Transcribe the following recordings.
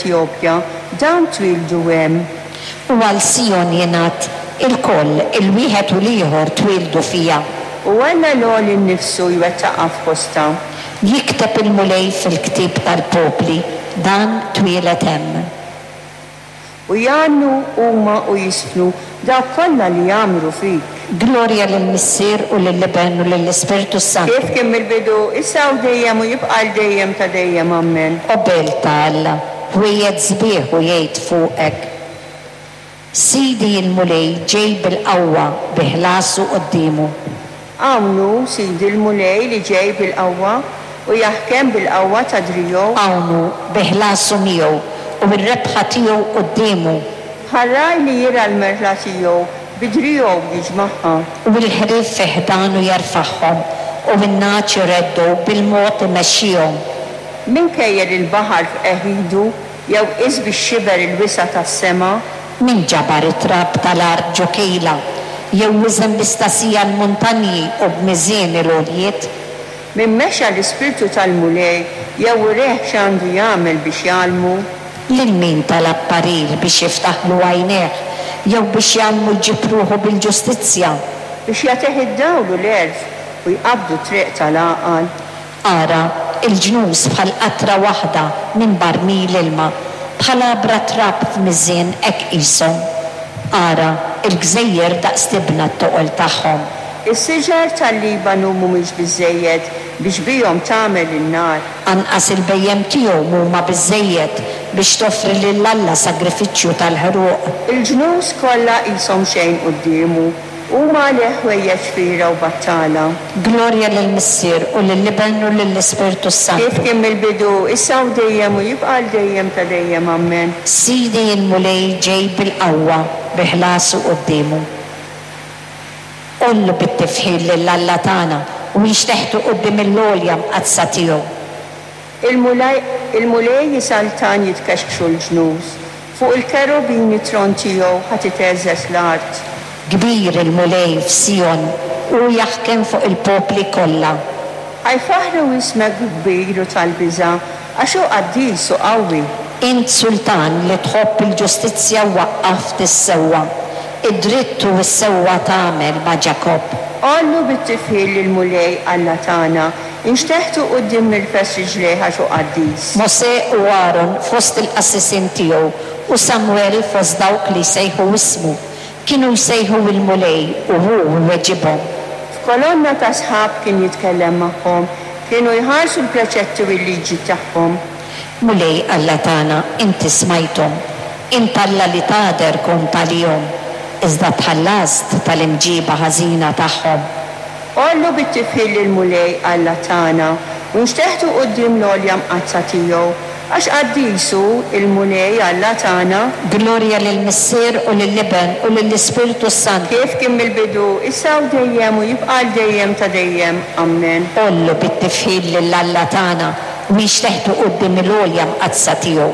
fl-Etjopja, dawn twieldu hemm. U għal Sijon jingħad, Ilkoll, il-wieħed u l-ieħor twieldu fiha. U Alla l-Għoli nnifsu jwettaqha f'postha. Jikteb il-Mulej fil-ktieb tal-popli, Dan twieled hemm. U jgħannu huma u jiżfnu dawk kollha li jgħammru fik. Glorja lill-Missier u lill-Iben u lill-Ispirtu s-Santu. Kif kien mill-bidu, issa u dejjem u jibqa' għal dejjem ta' dejjem. Ammen. O belt ta' Alla, ħwejjeġ sbieħ hu jgħid fuqek. Sidi l-Mulej ġej bil-qawwa bi ħlasu quddiemu. Hawn hu Sidi l-Mulej li ġej bil-qawwa, u jaħkem bil-qawwa ta' driegħu. Hawn hu bi ħlasu miegħu, u r-rebħa tiegħu quddiemu. Bħal ragħaj li jirgħa l-merħla tiegħu, bi driegħu jiġmagħha. U l-ħrief fi ħdanu jerfagħhom, u n-nagħaġ ireddgħu bil-mod imexxihom. Min kejjel il-baħar f'qiegħ idu, Jew qies bix-xiber il-wisa' tas-sema? Min ġabar it-trab tal-art ġo kejla, jew wiżen bi stasija l-muntanji u b'miżien il-għoljiet? Min mexa l-ispirtu tal-Mulej, jew urieh x'għandu jagħmel biex jgħallmu? Lil min talab parir biex jiftaħlu għajnejh, jew biex jgħallmu jġib ruħu bil-ġustizzja? Biex jagħtih id-dawl u l-għerf, u jqabbdu t-triq tal-għaqal? Ara, il-ġnus bħal qatra waħda minn barmil ilma, bħal għabra trab f'miżien hekk qishom. Ara, il-gżejjer daqs tibna t-toqol tagħhom. Is-siġar tal-Libanu mhumiex biżżejjed biex bihom tagħmel in-nar. Anqas il-bhejjem tiegħu mhuma biżżejjed biex toffri lil Alla sagrifiċċju tal-ħruq. Il-ġnus kollha qishom xejn quddiemu, Huma għalih ħwejjeġ fiergħa u battala. Glorja lill-Missier u lill-Iben u lill-Ispirtu Kif s-Santu. kien mill-bidu, issa u dejjem u jibqa' għal dejjem ta' dejjem. Ammen. Sidi l-Mulej ġej bil-qawwa, bi ħlasu quddiemu. Għollu bit-tifħir lil Alla tagħna u inxteħtu quddiem il-għolja mqaddsa tiegħu. Il-Mulej, il-Mulej isaltan jitkexkxu l-ġnus, fuq il-kerubini t-tron tiegħu ħa titheżżeż l-art. Kbir il-Mulej f'Sijon, hu jaħkem fuq il-popli kollha. Ħa jfaħħru ismek kbir u tal-biża', għax hu qaddis u qawwi. Int sultan li tħobb il-ġustizzja u waqqaft is-sewwa, id-dritt u s-sewwa tagħmel ma' Ġakobb. Għollu bit-tifħir lill-Mulej Alla tagħna, Inxteħtu quddiem mirfes riġlejh għax hu qaddis. Mosè u Aron fost il-qassisin tiegħu, u Samwel fost dawk li jsejħu ismu, kienu jsejħu 'l-Mulej u hu jweġibhom. F'kolonna ta' sħab kien jitkellem magħhom, kienu jħarsu l-preċetti u l-liġi tagħhom. Mulej Alla tagħna, inti smajthom, int Alla li tagħder kont għalihom, iżda tħallast tal-imġiba ħażina tagħhom. Għollu bit-tifħir lill-Mulej Alla tagħna, u nxteħtu quddiem l-għolja mqaddsa tiegħu, għax qaddis hu l-Mulej Alla tagħna. Glorja lill-Missier u lill-Iben u lill-Ispirtu s-Santu. Kif kien mill-bidu, issa u dejjem u jibqa' għal dejjem ta' dejjem. Ammen. Għollu bit-tifħir lil Alla tagħna, u nxteħtu quddiem il-għolja mqaddsa tiegħu.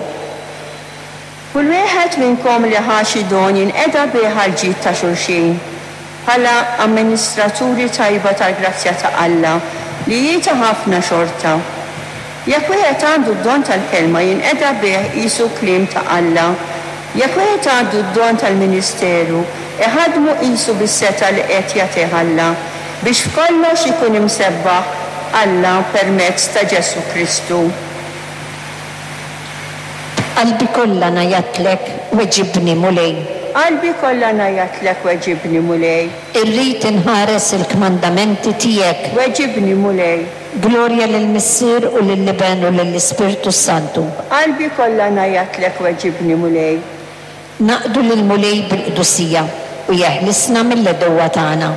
Kull wieħed minnkom li ħa xi don jinqeda bih għall-ġid ta' xulxin, bħala amministraturi tajba tal-grazzja ta' Alla, li hi ta' ħafna xorta. Jekk wieħed għandu d-don tal-kelma jinqeda bih qisu kliem ta' Alla. Jekk wieħed għandu d-don tal-ministeru, iħaddmu qisu bis-setgħa li qed jagħtih Alla, biex f'kollox ikun imsebbaħ Alla permezz ta' Ġesù Kristu. B'qalbi kollha ngħajjatlek, weġibni, Mulej. B'qalbi kollha ngħajjatlek, weġibni, Mulej. Irrid inħares il-kmandamenti tiegħek. Weġibni, Mulej. Glorja lill-Missier u lill-Iben u lill-Ispirtu s-Santu. B'qalbi kollha ngħajjatlek, weġibni, Mulej. Naqdu lill-Mulej bil-qdusija, u jeħlisna mill-għedewwa tagħna.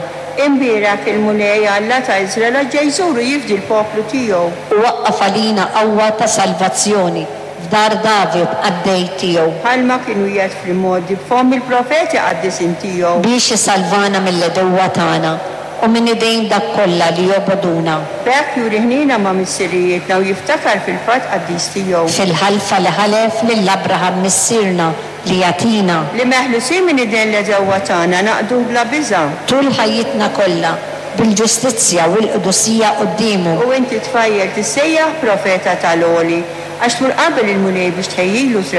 Imbierek il-Mulej, Alla ta' Iżrael, għax ġej jżur u jifdi l-poplu tiegħu. U waqqaf għalina qawwa ta' salvazzjoni f'dar David qaddej tiegħu. Bħalma kien wiegħed fl-imgħoddi b'fomm il-profeti qaddisin tiegħu. Biex isalvana mill-għedewwa tagħna, u minn idejn dak kollha li jobogħduna. B'hekk juri ħniena ma' missirijietna u jiftakar fil-patt qaddis tiegħu. Fil-ħalfa li ħalef lil Abraham missierna li jagħtina. Li meħlusin minn idejn l-għedewwa tagħna naqduh bla biża'. Tul ħajjitna kollha, bil-ġustizzja u l-qdusija quddiemu. U inti tfajjel tissejjaħ profeta ta' l-Għoli, għax tmur qabel il-Mulej biex tħejjilu triq.